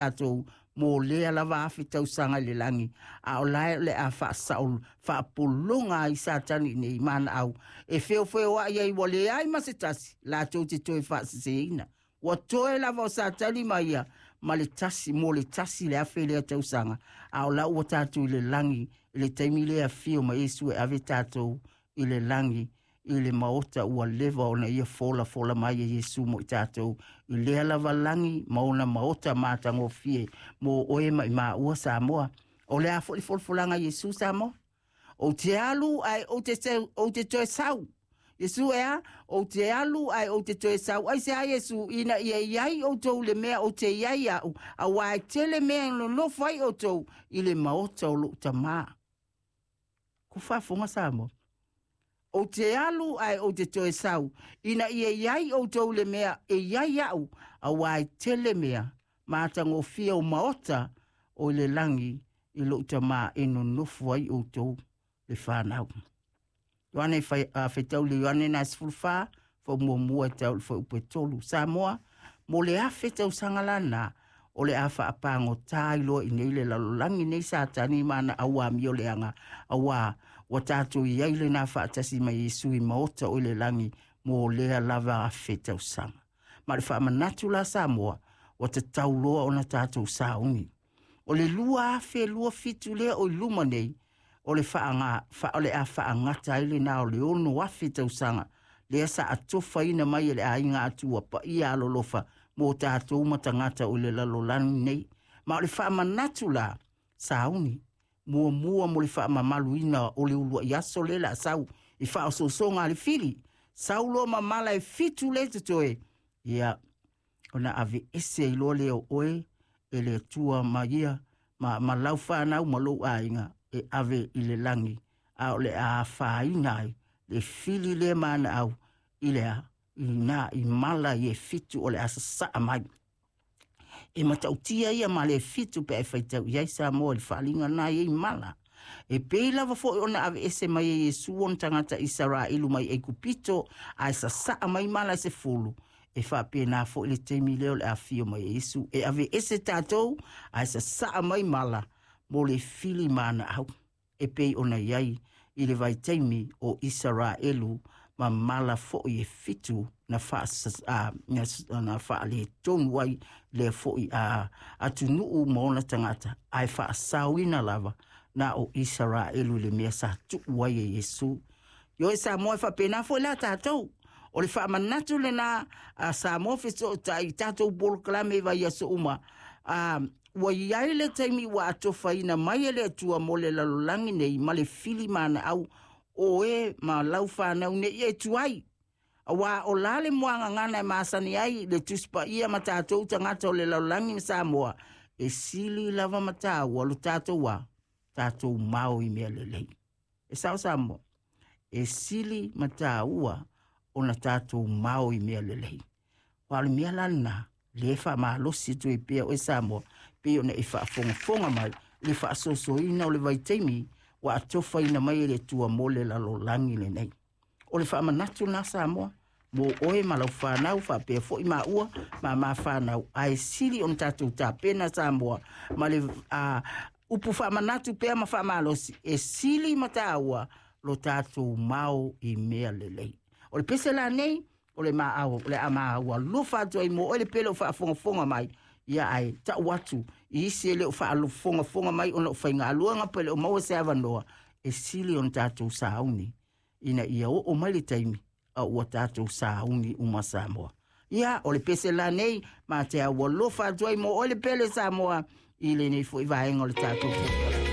Tatou mo lea lava afe tausaga i le lagi, a o lae o le a faasao faapologa ai Satani nei manaau e feofeoai ai, ua leai ma se tasi latou te toe faaseseina. Ua toe lava o Satani ma ia ma le tasi mo le tasi le afe lea tausaga, a o la ua tatou i le lagi i le taimi lea afio ma Iesu e ave tatou i le lagi i le maota ua leva ona ia folafola mai e Iesu mo i tatou i lea lava lagi ma ona maota matagofie mo oe ma i maua Samoa. O le a foi le folafolaga a Iesu Samoa? Ou te alu ae ou te toe sau. Iesu e a? Ou te alu ae ou te toe sau. Ai se a Iesu ina ia iai outou le mea ou te iai au, auā e tele mea e nonofo ai outou i le maota o lou Tamā. Ku faafofoga Samoa. Ou te alu ae ou te toe sau, ina ia i ai outou le mea e i ai au, auā e tele mea matagofie o maota o i le lagi i lou Tamā e nonofo ai outou le fanau. Ioane faitau le Ioane na 14, faamuamua e tau i le fuaiupu e 3. Samoa, mo le afe tausaga lana, o le a faapagota ai loa i nei le lalolagi nei Satani ma ana auamio leaga, auā ua tatou i ai lena faatasi ma Iesu i maota o i le lagi mo lea lava afe tausaga. Ma le faamanatu la Samoa, ua tatau loa ona tatou sauni. O le 2027 lea o i luma nei, o le faaga, o le a faagata ai lena o le 6,000 tausaga lea sa atofaina mai e le aiga Atua paia alolofa mo tatou ma tagata o le lalolagi nei. Ma o le faamanatu la, sauni, muamua mo le faamamaluina o le uluai aso lea o le a sau i faaosoosoga a le fili, sau loa ma mala e 7 le totoe, ia, ona aveese ai loa lea o oe e le Atua ma ia ma lau fanau ma lou aiga e ave i le lagi, a o le a afaina ai le fili lea manaau i le a i nā i mala i e 7 o le a sasaa mai. E matautia ia ma le 7 pe e faitau i ai Samoa i le faaliga na i ai mala. E pei lava foi ona aveese mai e Iesu ona tagata Isaraelu mai Aikupito ae sasaa mai mala e 10, e faapena foi le taimi lea o le afio mai e Iesu e aveese tatou ae sasaa mai mala mo le fili manaau e pei ona i ai i le vaitaimi o Isaraelu ma mala foi e 7 na na faaletonu ai lea foi a atunuu ma ona tagata ae faasaoina lava na o Isaraelu i le mea sa tuu ai e Iesu. Ioe Samoa, e faapena foi la tatou. O le faamanatu lena a Samoa fesootai i tatou polokalame i vaiaso uma. Ua i ai le taimi ua atofaina mai e le Atua mo le lalolagi nei ma le fili manaau o e ma lau fanau nei e tuai. Auā o la le muagagana e masani ai le Tusi Paia ma tatou tagata o le lalolagi ma Samoa, e sili lava ma tāua lo tatou a tatou mao i mea lelei. E sao Samoa, e sili ma tāua ona tatou mao i mea lelei. Wa o le mea la lena, le faamalosi atu ai pea oe Samoa, pei ona e faafogafoga mai i le faasoasoaina o le vaitaimi ua atofaina mai e le Atua mo le lalolagi lenei. O le faamanatu lena Samoa, mo oe ma lau fanau faapea foi maua ma ma fanau, ae sili ona tatou tapena Samoa ma le upu faamanatu pea ma faamalosi, e sili ma tāua lo tatou mao i mea lelei. O le pese la nei, o le maau, o le a maua alofa atu ai mo oe le pele o faafogafoga mai, ia ae tau atu i isi e le o faafogafoga mai ona o faigaluega pe le o maua se avanoa, e sili ona tatou sauni ina ia oo mai le taimi a ua tatou sauni uma Samoa. Ia, o le pese la nei, ma te au alofa atu ai mo oe le pele Samoa i lenei foi vaega o le tatou polokalame.